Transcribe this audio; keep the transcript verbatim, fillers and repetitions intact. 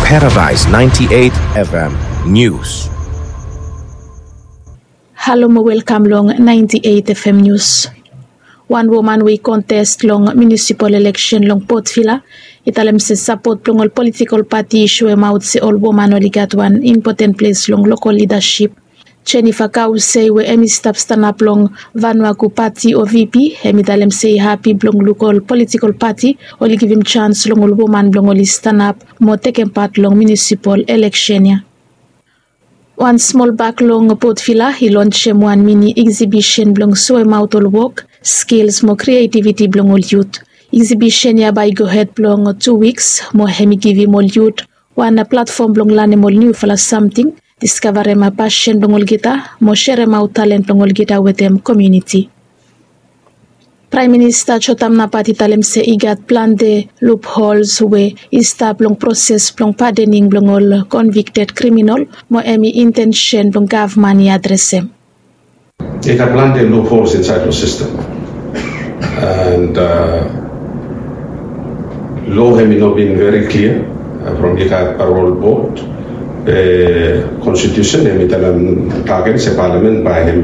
Paradise ninety-eight F M News. Halo mo welkam long ninety-eight F M News. Wan woman we i kontest long munisipal eleksen long Port Vila i talem se sapot blong ol politikol pati i soemaot se ol woman oli gat wan impoten ples long lokol lidasip. Jennifer Kausei we hemi stap stanap long Vanuaku pati o V P, hemi talem se i hapi blong luk ol politikol pati oli givim jans long ol woman blong oli stanap mo tekem pat long munisipal eleksen ya. Wan smol bak long Port Vila i lonsem wan mini eksibisen blong soemaot ol wok, skils mo krietiviti blong ol yut. Eksibisen ya bae i gohed blong tu wiks mo hemi givim ol yut wan platfom blong lanem ol niufala samting, diskavarem pasen blong olgeta mo seremaot talen blong olgeta wetem komuniti. Praem Minista Jotam Napat i talem se i gat plante luphols we i stap long proses blong padening blong ol konvikted kriminol mo hemi intensen blong gavman i adresem. I gat plante luphols insaed long sistem. And lo hemi no bin veri klia from i gat parol bod, be konstitusen hemi talem tagen se palamen bae hemi